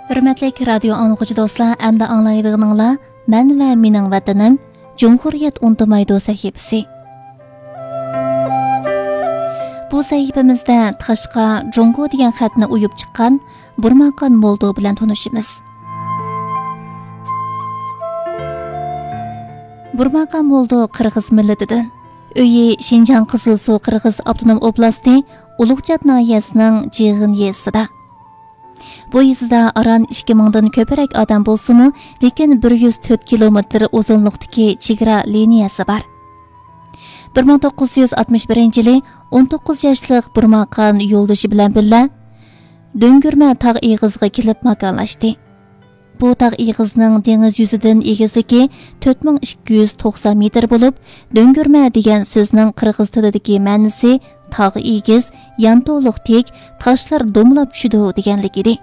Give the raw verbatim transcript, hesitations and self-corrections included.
ھۆرمەتلىك رادىيو ئاڭلىغۇچى دوستلار، ئەمدى ئاڭلايدىغىنىڭلار مەن ۋە مېنىڭ ۋەتىنىم جۇمھۇرىيەت ئۇنتۇمايدۇ سەھىپىسى. بۇ سەھىپىمىزدە تاشقا جۇڭگو دېگەن خەتنى ئويۇپ چىققان بۇرماقان مولدو بىلەن تونۇشىمىز. بۇرماقان مولدو قىرغىز مىللىتىدىن. ئۆيى شىنجاڭ قىزىلسۇ قىرغىز ئاپتونوم ئوبلاستى ئۇلۇغچات ناھىيەسىنىڭ جىغىن يېزىسىدا. بۇ يېزىدا ئاران ئىككى مىڭدىن كۆپرەك ئادەم بولسىمۇ، لېكىن بىر يۈز تۆت كىلومېتىر ئۇزۇنلۇقتىكى چېگرا لىنىيەسى بار. بىر مىڭ توققۇز يۈز ئاتمىش بىرىنچى يىلى ئون توققۇز ياشلىق بۇرماقان يولدىشى بىلەن بىللە دۆڭگۈرمە تاغ ئېغىزىغا كېلىپ ماكانلاشتى. بۇ تاغ ئېغىزنىڭ دېڭىز يۈزىدىن ئېگىزلىكى تۆت مىڭ ئىككى يۈز توقسان مېتىر بولۇپ، دۆڭگۈرمە دېگەن سۆزنىڭ قىرغىز تىلىدىكى مەنىسى تاغ ئېگىز، يانتۇلۇق تىك، تاشلار دومىلاپ چۈشىدۇ دېگەنلىك ئىدى.